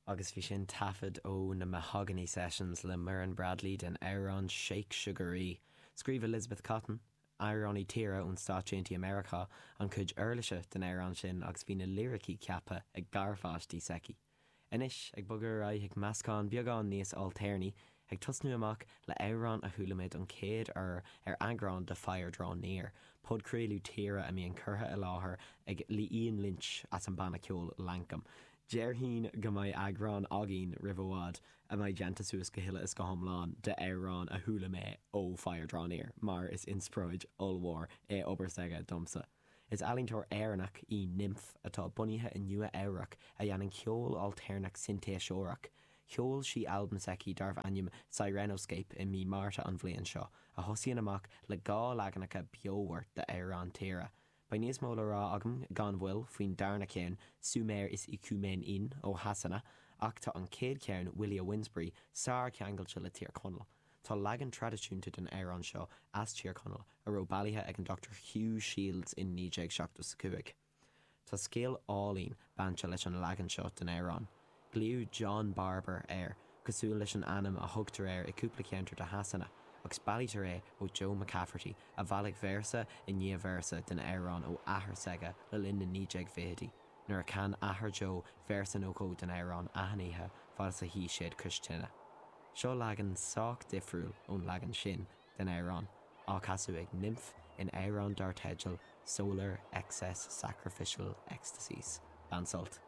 Agus bhí sin taifead ó na Mahogany Sessions le Muireann Bradley den amhrán Shake Sugaree. Scríobh Elizabeth Cotton, amhránaí tíre ón Stáit Aontaithe Meiriceá, an chuid uirlise den amhrán sin agus bhí na liricí ceaptha ag garpháistí s'aici. Anois, ag bogadh ar aghaidh chuig meascán beagán níos ailtéarnaí, ag tosnú amach le amhrán a chuala mé don chéad uair ar eagrán de Fire Draw Near, podchraoladh tíre a mbíonn curtha i láthair ag Ian Lynch as an banna ceoil Lankum. Déarfainn go mbeidh eagrán againn roimh i bhfad a mbeidh déanta suas go huile is go hiomlán de amhráin a chuala mé ó Fire Draw Near mar is inspioráid ollmhór é obair s'aige domsa. Is ealaíontóir Éireannach í Nymph atá bunaithe i Nua Eabhrac a dhéanann ceol ailtéarnach sintéiseoireach. Sheol sí albam s'aici darbh ainm Sirenoscape i mí Márta an bhliain seo, a thosaíonn amach le 2 leaganacha beomhar d'amhrán tíre. Beidh níos mó le rá agam gan mhoill faoin darna ceann, Sumair is Icúmén Inn ó Shasana, ach tá an chéad cheann, Willie o' Winsbury, sár-cheangailte le Tír Chonaill. Tá leagan traidisiúnta den amhrán seo as Tír Chonaill a raibh bailithe ag an Dr Hugh Shields in 1975. Tá scéal álainn bainte leis an leagan seo den amhrán. Glaodh John Barber air, cosúil leis an ainm a thugtar air i cúpla ceantar de Shasana, agus bailítear é ó Joe McCafferty, a bhailigh véarsa i ndiaidh véarsa den amhrán ó athair s'aige le linn na 1920idí, nuair a chan athair Joe véarsa nó dhó den amhrán achan oíche fad is a shuigh siad cois tine. Seo leagan sách difriúil ón leagan sin den amhrán, á casadh ag Nymph in amhrán dar teideal Solar Excess Sacrificial Ecstasies. Bain sult.